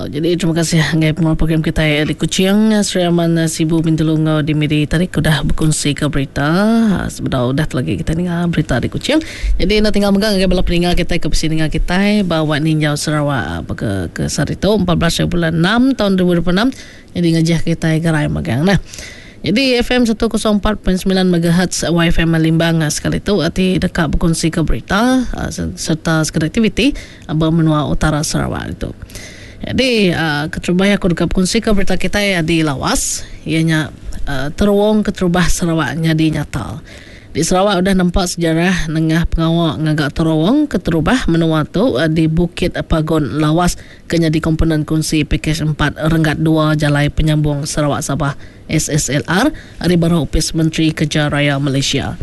Jadi terima kasih ngagai pengeluar program kitai di Kuching, Sri Aman, Sibu, Bintulu enggau di Miri tadi ke udah bekunsi ke berita sebedau udah lagi kitai ninga berita di Kuching. Jadi enda tinggal mega ngagai bala peninga kitai ke bisi ninga kitai ba Wak Ninjau Sarawak baka ke sehari tu 14 hari bulan 6 taun 2026 jadi ngajih kitai gerai magang nah. Jadi FM 104.9 MHz YFM Limbang sekali tu ti deka bekunsi ke berita serta sekeda aktiviti ba menua utara Sarawak ditu. Jadi keterubah aku deka bekunsika berita kitai di Lawas iya nya terowong keterubah Sarawak nyadi nyata. Di Sarawak udah nempa sejarah nengah pengawa ngaga terowong keterubah menua tu di Bukit Pagon Lawas ke nyadi komponen kunsi Pakej empat Renggat dua Jalai Penyambung Sarawak Sabah, SSLR, ari baruh Opis Menteri Kerja Raya Malaysia.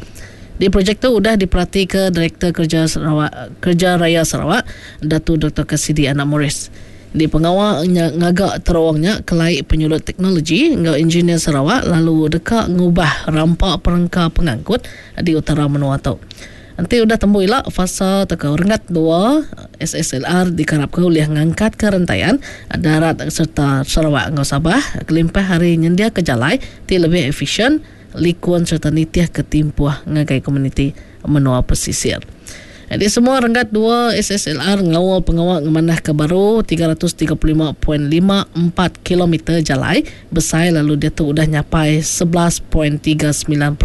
Di projek tu udah diperatika Direktor Kerja Sarawak Kerja Raya Sarawak, Datu Doktor Cassidy Anak Morris. Di pengawa ngaga terowong nya kelai penyulut teknologi enggau injinir Sarawak lalu deka ngubah rampa perengka pengangkut di utara menua tu. Enti udah tembu ila, fasa tauka renggat dua SSLR dikarapka ulih ngangkatka rentayan darat sereta Sarawak enggau Sabah kelimpah ari nyendiaka jalai ti lebih efisyen, likun sereta nitihka timpuh ngagai komuniti menua pesisir. Nyadi semua renggat dua SSLR ngaul pengawa ngemanahka baru 335.54 kilometer jalai besai lalu diatu udah nyapai 11.39%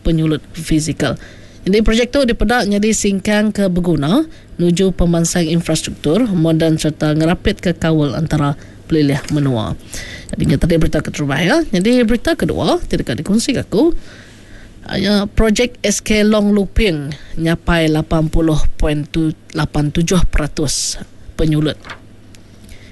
penyulut fizikal. Nyadi projek tu dipeda nyadi singkang ke beguna nuju pemansang infrastruktur moden sereta ngerapitka kaul entara pelilih menua. Nyadi nya tadi berita keterubah iya. Nyadi berita kedua ti deka dikunsika aku nya projek SK Long Luping nyapai 80.87% penyulut.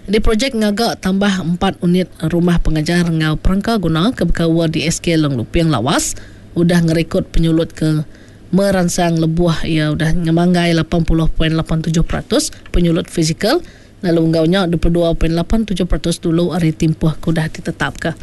Nyadi projek ngaga tambah empat unit rumah pengajar enggau perengka guna ke bekaul di SK Long Luping Lawas udah ngerikod penyulut ke meransang lebuh iya udah ngemanggai 80.87% penyulut fizikal lalu enggau nya 22.87% dulu ari timpuh ke udah ditetapka.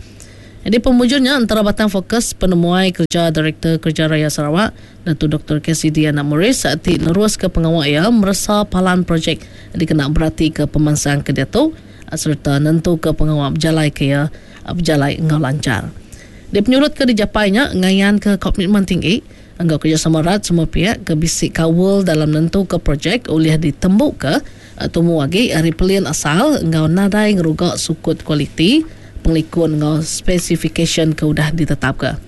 Nyadi pemujur nya entara batang fokus penemuai kereja Direktor Kereja Raya Sarawak, Datu Doktor Cassidy Anak Morris ti neruska pengawa iya meresa palan projek dikena beratika pemansang ke diatu sereta nentuka pengawa bejalaika iya bejalai enggau lanchar. Di penyulut ke dijapai nya ngayanka komitmen tinggi enggau kerejasama rat semua piak ke bisi kaul dalam nentuka projek ulih ditembuka tumu agi ari pelin asal enggau nadai ngeruga sukut kualiti, pengelikun enggau spesifikasyen ke udah ditetapka.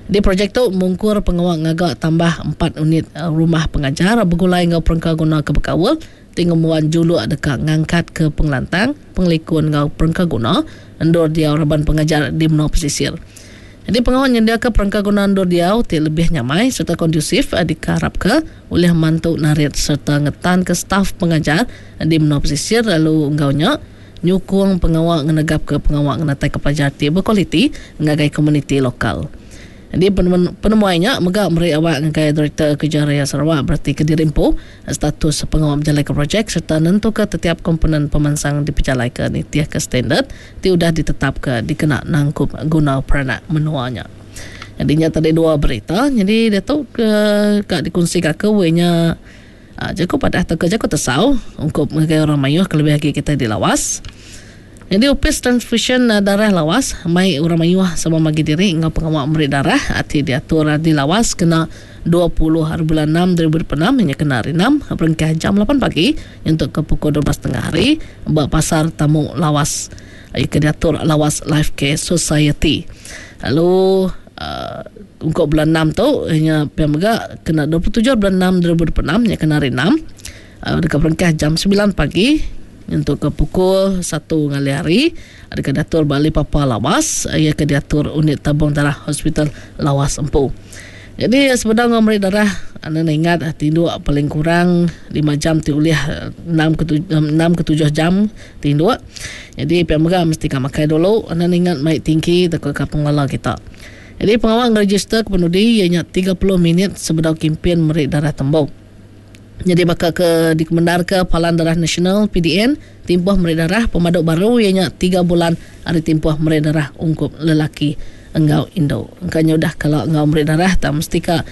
Di projek tu mungkur pengawa ngaga tambah empat unit rumah pengajar begulai enggau perengka guna ke bekaul ti ngembuan juluk deka ngangkatka pengelantang, pengelikun enggau perengka guna endur diau raban pengajar di menua pesisir. Nyadi pengawa nyendiaka perengka guna endur diau ti lebih nyamai sereta kondusif dikearapka ulih mantu narit sereta ngetanka staf pengajar di menua pesisir lalu enggau nya nyukung pengawa ngenegapka pengawa ngenataika pelajar ti bekualiti ngagai komuniti lokal. Nyadi penemuai nya mega meri awak ngagai Direktor Kerja Raya Sarawak beratika diri empu status pengawa bejalaika projek sereta nentuka tetiap komponen pemansang dipejalaika nitihka standard ti udah ditetapka dikena nangkup guna peranak menua nya. Nyadi nya tadi dua berita nyadi diatu ke ka dikunsika aku iya nya jaku padah tauka jaku tesau ungkup ngagai orang mayuh kelebih agi kitai di Lawas. Nyadi Opis Transfusyen Darah Lawas mai orang mayuh sama magi diri enggau pengawa meri darah ti diatur di Lawas kena 20 hari bulan enam 2026 iya nya kena hari enam berengkah jam lapan pagi nyentuk ke pukul 12 tengah hari ba Pasar Tamu Lawas iya ke diatur Lawas Life Care Society. Lalu uhh ungkup bulan enam tu iya nya pia mega kena 27 bulan enam 2026 iya nya kena hari enam deka berengkah jam semilan pagi nyentuk ke pukul satu ngalih hari deka diatur ba Ali Papa Lawas iya ke diatur Unit Tabung Darah Hospital Lawas empu. Nyadi sebedau enggau meri darah enda ingat tinduk paling kurang lima jam ti ulih enam ke enam ke tujuh jam tinduk. Nyadi pia mega mesti ka makai dulu enda ingat mai tingki tauka ka pengelala kita. Nyadi pengawa ngerejister ke penudi iya nya 30 minit sebedau kimpin meri darah tembu. Nyadi baka ke dikemendarka Palan Darah Nasional, PDN, timpuh meri darah pemadu baru iya nya tiga bulan ari timpuh meri darah ungkup lelaki enggau indu. Engka nya udah kala enggau meri darah tang mesti ka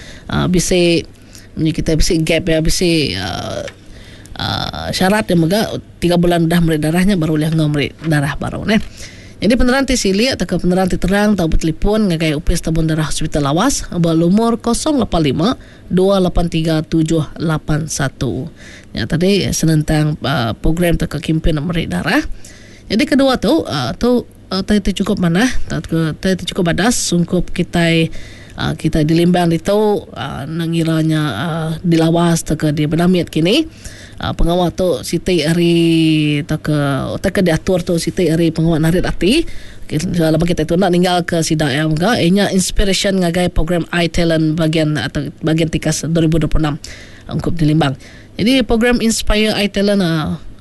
bisi munyi kitai bisi gap iya bisi uhh. Syarat iya mega tiga bulan udah meri darah nya baru ulih enggau meri darah baru neh. Nyadi penerang ti silik tauka penerang ti terang tau betelefon ngagai Opis Tabung Darah Hospital Lawas ba lumur 085 283781. Nya tadi senentang program tauka kimpin meri darah. Nyadi kedua tu tu utai ti chukup manah tauka utai ti chukup badas ungkup kitai kitai di Limbang ditu ngira nya di Lawas tauka di Benamit kini. Pengawa tu siti ari tauka utai ke diatur tu siti ari pengawa narit ati laban kitai tu enda ninggalka sida iya mega iya nya inspirasyen ngagai program iTalent bagian atau bagian tikas 2026 ungkup di Limbang. Jadi program Inspire iTalent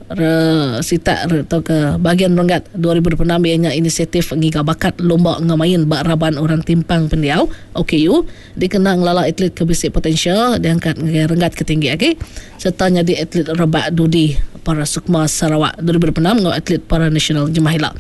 re sitak re tauka bagian renggat 2026 iya nya inisiatif ngiga bakat lumba enggau main ba raban orang timpang pendiau, OKU, Dikena ngelala atlet ke bisi potensial diangkat ngagai renggat ke tinggi agi sereta nyadi atlet rebak dudi Para Sukma Sarawak 2026 enggau atlet para nasional jemah ila.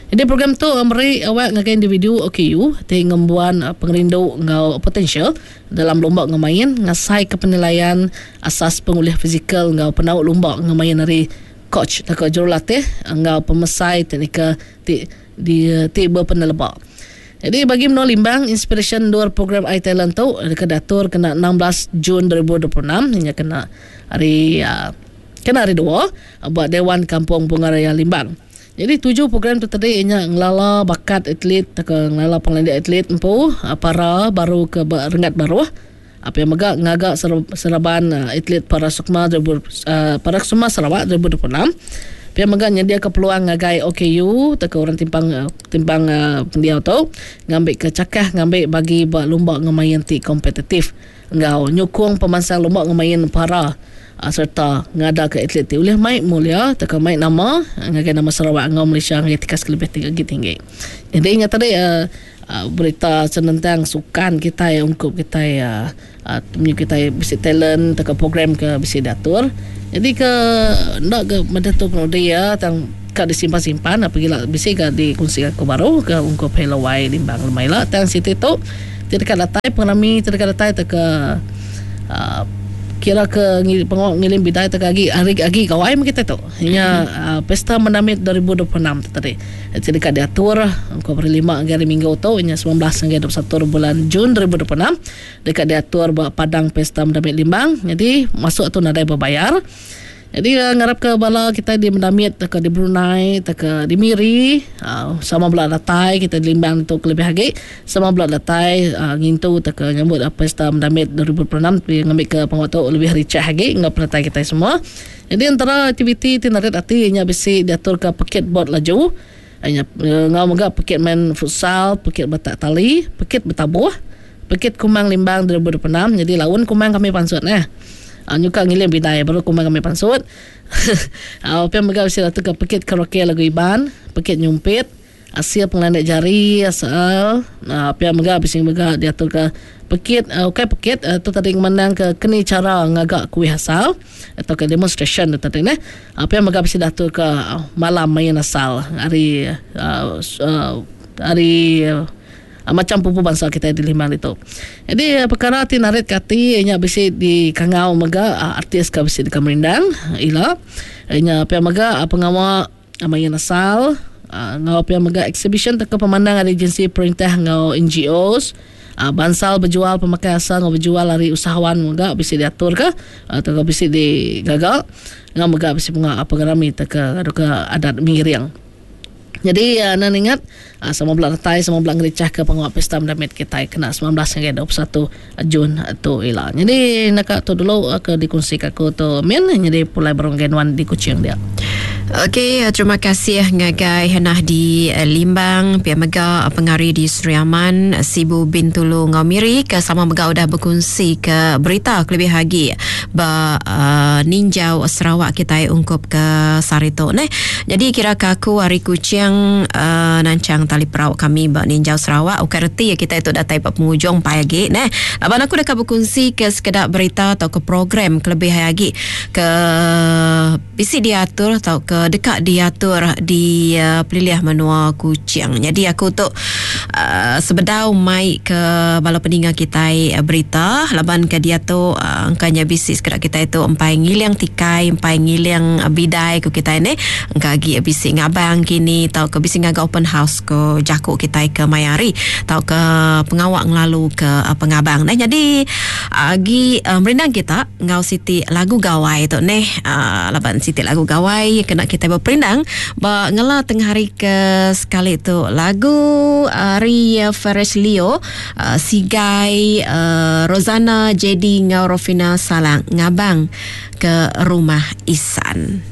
Nyadi program tu meri awak ngagai individu OKU ti ngembuan pengerindu enggau potensial dalam lumba enggau main ngasaika penilaian asas pengulih fizikal enggau penau lumba enggau main ari coach tauka jurulatih enggau pemesai teknikal ti ti bepeneleba. Nyadi bagi menua Limbang, inspirasyen endur program iTalent tu deka diatur kena 16 Jun 2026 iya nya kena hari kena hari dua ba Dewan Kampung Bunga Raya Limbang. Nyadi tuju program tu tadi iya nya ngelala bakat atlet tauka ngelala pengelandik atlet empu para baru ke ba renggat baruh pia mega ngaga seraban atlet para sukma para sukma Sarawak 2026 pia mega nyediaka peluang ngagai OKU tauka orang timpang timpang pendiau tu ngambika chakah ngambi bagi ba lumba enggau main ti kompetitif enggau nyukung pemansang lumba enggau main para sereta ngadaka atlet ti ulih mai mulia tauka mai nama ngagai nama Sarawak enggau Malaysia ngagai tikas ke lebih agi tinggi. Jadi nya tadi Berita senentang sukan kitai ungkup kitai temu kitai bisi talent tauka program ke bisi diatur. Jadi ke enda ke meda tu penudi iya tang ka disimpan-simpan pagila bisi ga dikunsi aku baru ke ungkup Hello Wai Limbang lemai ila tang siti tu ti deka datai pengerami ti deka datai tauka uhh kira ke pengawa ngiling bidai tauka agi hari agi gawai meh kitai tu. Nya Pesta Mendamit 2026 tu tadi. Ti deka diatur ungkup hari Lima ngagai hari Minggu tu inya 19 ngagai 21 bulan Jun 2026 deka diatur ba Padang Pesta Mendamit Limbang. Nyadi masuk tu nadai bebayar. Nyadi ngarapka bala kitai di Mendamit tauka di Brunei tauka di Miri sama bela datai kitai di Limbang ditu kelebih agi sama bela datai ngintu tauka nyambut Pesta Mendamit 2026 ngambika pengawa tu lebih richah agi enggau penatai kitai semua. Nyadi entara aktiviti ti narit ati iya nya bisi diaturka pekit bot laju, iya nya enggau mega pekit main futsal, pekit betak tali, pekit betabuh, pekit Kumang Limbang 2026 nyadi laun Kumang kami pansut neh. Nyuka ngiling bidai baru Kumang kami pansut. Pia mega bisi diaturka pekit karaoke lagu Iban, pekit nyumpit. Asil pengelandik jari asal pia mega bisi mega diaturka pekit ukai pekit tu tadi ngemandangka keni chara ngaga kuih asal tauka demonstration tu tadi neh. Pia mega bisi diaturka malam main asal ari ari macham pupu bansa kitai di Limbang ditu. Jadi pekara ti narit ke ati nya bisi dikangau mega artis ke bisi deka merindang ila nya pia mega pengawa Main asal enggau pia mega eksibisyen tauka pemandang ari agensi perintah enggau NGOs. Bansal bejual pemakai asal enggau bejual ari usahawan mega bisi diaturka tauka bisi digaga enggau mega bisi pengerami tauka ngaduka adat miring. Nyadi anang ingat sama bela datai sama bela ngerichahka pengawa pesta mendamit kitai kena 19 ngagai 21 Jun tu ila. Nyadi naka tu dulu ke dikongsi ka aku tu min nyadi pulai baru ngagai nuan di Kuching dia. Okey, terima kasih ngagai Henah di Limbang, pia mega pengari di Sri Aman, Sibu Bintulu enggau Miri ke sama mega udah bekunsi ke berita kelebih agi ba uh, ninjau Sarawak kitai ungkup ke sehari tu neh. Jadi kira ke aku ari Kuching uh, nanchang tali perau kami ba ninjau Sarawak ukai reti kitai tu datai ba pengujung pai agi neh. Laban aku deka bekunsi ke sekeda berita tauka program kelebih agi ke bisi diatur tauka deka diatur di uh, pelilih menua Kuching. Jadi aku tu Uh, sebedau mai ke bala peninga kitai uh, berita laban ke diatu uh, engkanya bisi sekeda kitai tu empai ngiling tikai empai ngiling bidai ku kitai ni engka agi bisi ngabang kini tauka bisi ngaga open house ko jaku kitai ke maya hari tauka pengawa ngelalu ke uh, pengabang nah jadi agi uh, merindang kita enggau siti lagu gawai tu neh uh, laban siti lagu gawai kena kitai beperindang ba ngela tengah hari ke sekali tu lagu ari uh, Fresh Leo uh, Sigai uh, Rosana JD enggau Rofina Salang ngabang ke rumah Isan.